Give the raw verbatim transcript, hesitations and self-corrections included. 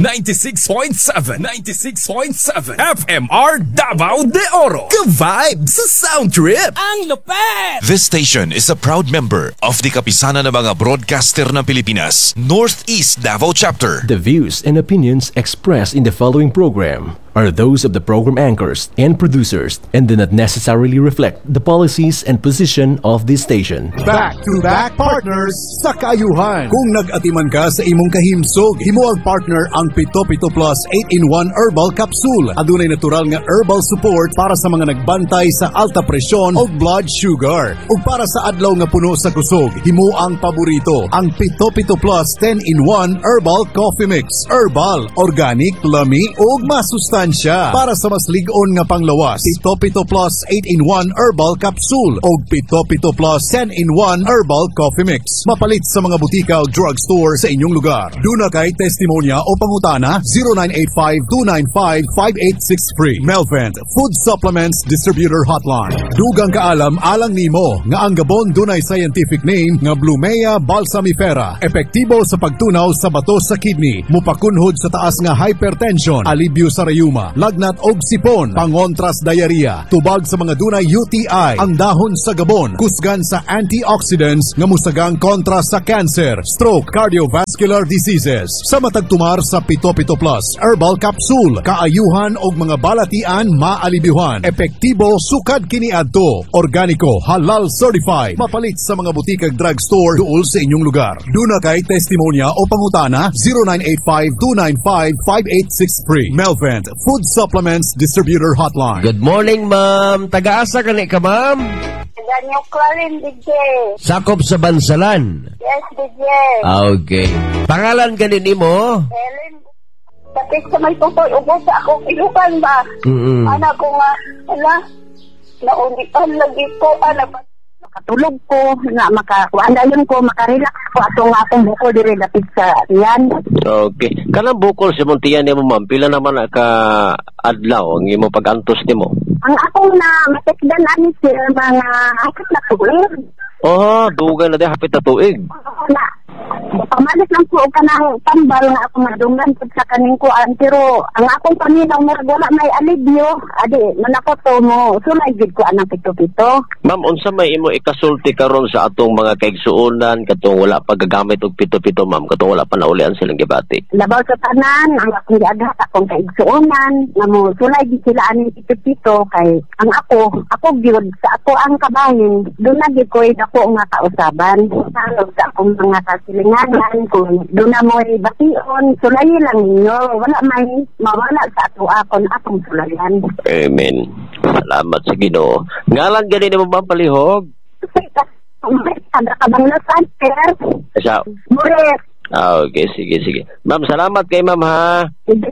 ninety-six point seven, ninety-six point seven F M R Davao de Oro. Ka-vibe sa sound trip. Ang lupet! This station is a proud member of the Kapisanan ng mga Broadcaster ng Pilipinas, Northeast Davao Chapter. The views and opinions expressed in the following program are those of the program anchors and producers and do not necessarily reflect the policies and position of this station. Back-to-back partners sa kaayuhan. Kung nag-atiman ka sa imong kahimsog, himoang partner ang Pito Pito Plus eight in one Herbal Capsule. Adunay natural nga herbal support para sa mga nagbantay sa alta presyon o blood sugar. Ug para sa adlaw nga puno sa kusog, himo ang paborito, ang Pito Pito Plus ten in one Herbal Coffee Mix. Herbal, organic, lami ug masustansya. Para sa mas lig-on nga panglawas, Pito Pito Plus eight in one Herbal Capsule o Pito Pito Plus ten in one Herbal Coffee Mix. Mapalit sa mga butika o drugstore sa inyong lugar. Duna kay testimonya o pangutana, zero nine eight five, two nine five, five eight six three. Melvent Food Supplements Distributor Hotline. Dugang kaalam alang nimo nga ang gabon dunay scientific name nga Blumea balsamifera. Epektibo sa pagtunaw sa bato sa kidney, mupakunhod sa taas nga hypertension, alibyo sa rayuma, lagnat og sipon, pangontras diarrhea, tubag sa mga dunay U T I. Ang dahon sa gabon kusgan sa antioxidants nga musagang kontra sa cancer, stroke, cardiovascular diseases. Sa matagtumar sa Pito Pito Plus Herbal Capsule, kaayuhan og mga balatian maalibyuhan. Epektibo sukad kiniadto. Organiko, halal certified. Mapalit sa mga butikag drugstore duol sa inyong lugar. Duna kay testimonya o pangutana, zero nine eight five, two nine five, five eight six three. Melvent Food Supplements Distributor Hotline. Good morning, ma'am. Taga-asa ka ni ka, ma'am? Taga New Clarin, D J. Sakop sa Bansalan. Yes, D J. Ah, okay. Pangalan ganin mo? Helen, sakit sa may tutoy, ubos sa akong ilukan ba? Mm-mm. Ana ko nga, ala, naulian lagi ko, ana ba? Makatulog ko nga maka kuan dayon ko, makarelax ko ato nga akong bukol diri dapit sa tiyan. Okay. Kanang bukol sa imong tiyan nimo, ma'am, pila naman na ka adlaw ang imo pag-antos nimo? Ang akong na matikdan ani, sir, mga hapit na tuig. Oh, dugay na di, hapit na tuig. Oo na. Pamalit lang ko og kanang tambal nga ako madunggan pud sa kaning kuan, pero ang akong paminaw murag wala may alibyo, adi man ako to mo sulay gid ko anang pito-pito. Ma'am, unsa may imo ikasulti karon sa atong mga kaigsuonan katong wala pa gagamit og pito-pito, ma'am, katong wala pa naulian silang gibati? Labaw sa tanan, ang akong giaghat akong kaigsuonan nga mo sulay gid sila aning pito-pito kay ang ako ako gyud sa ako ang kabahin duna gyud ko'y dako nga kausaban. Sa sa akong mga kasilinganan, kung duna mo'y bation, sulayi lang ninyo, wala may mawala sa ato akon akong sulayan. Amen. Salamat sa Ginoo. Ngalan gani nimo, ma'am, palihog? Taga Kabanglasan, sir. Sa Mures. Ah, okay, sige, sige. Ma'am, salamat kay ma'am ha. Sige.